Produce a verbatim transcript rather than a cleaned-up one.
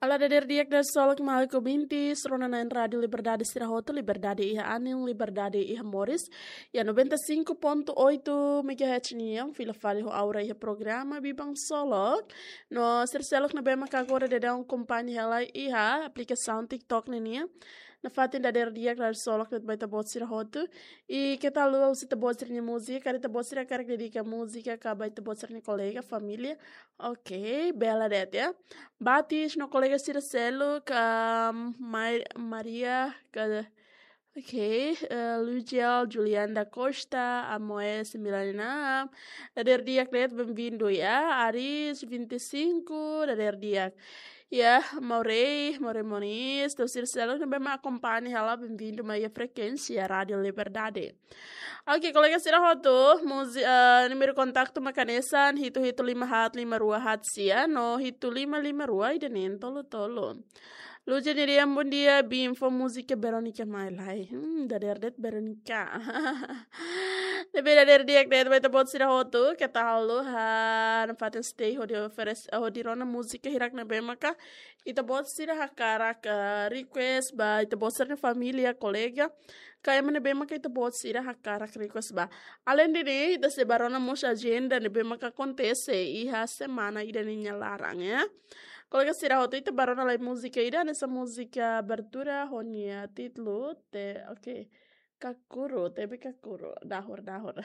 Olá, dadeer di'ak, dadeer solok, maluk ouvinte sira-nia Rádio Liberdade sira hotu, liberdade iha anin, liberdade iha moris. Iha noventa e cinco ponto oito megahertz nian, fila fali ho Aura iha programa Biban Solok. No sira seluk ne'ebé maka agora daudaun akompaña hela iha aplikasaun TikTok ne'e nian. Nafatin dadeer di'ak, dadeer solok de'it ba ita-boot sira hotu. I keta haluha husu ita-boot sira-nia múzika, karik ita-boot sira hakarak dedika múzika ka ba ita-boot sira-nia kolega, família. Ok, bele de'it ya. Batis no kolega sira seluk, um, Mai-, Maria ka, ok, eh, Lugiel, Juliana da Costa, Amoes Milanina. Dadeer di'ak de'it, bem-vindo ya. Aris vinte e cinco, dadeer di'ak. Ya, Maurei, Maurei Moniz, entaun sira seluk ne'ebé mak akompaña hela, bem-vindo mai iha frekuénsia Rádio Liberdade. Ok, kolega sira hotu, múzi-, eh, númeru kontaktu mak hanesan hitu hitu lima haat lima rua haat sia, no hitu lima lima rua ida-ne'e tolu tolu. Lucia Niriam, bom dia, Bim, fó múzika Verónica mai lai. Hmm, dadeer de'it Verónica. Ne'ebé dadeer di'ak de'it ba ita-boot sira hotu, keta haluha nafatin stay hodi oferese, hodi rona múzika hirak ne'ebé maka ita-boot sira hakarak, eh, request ba ita-boot sira-nia família, kolega, ka ema ne'ebé maka ita-boot sira hakarak request ba. Alende ne'e, ita sei bá rona mós ajenda ne'ebé maka akontese iha semana ida-ne'e nia laran, ya. Kolega sira hotu, ita bá rona lai múzika ida, hanesan múzika abertura ho nia títulu, te, ok. Kakuru, tebe kakuru, dahur, dahur.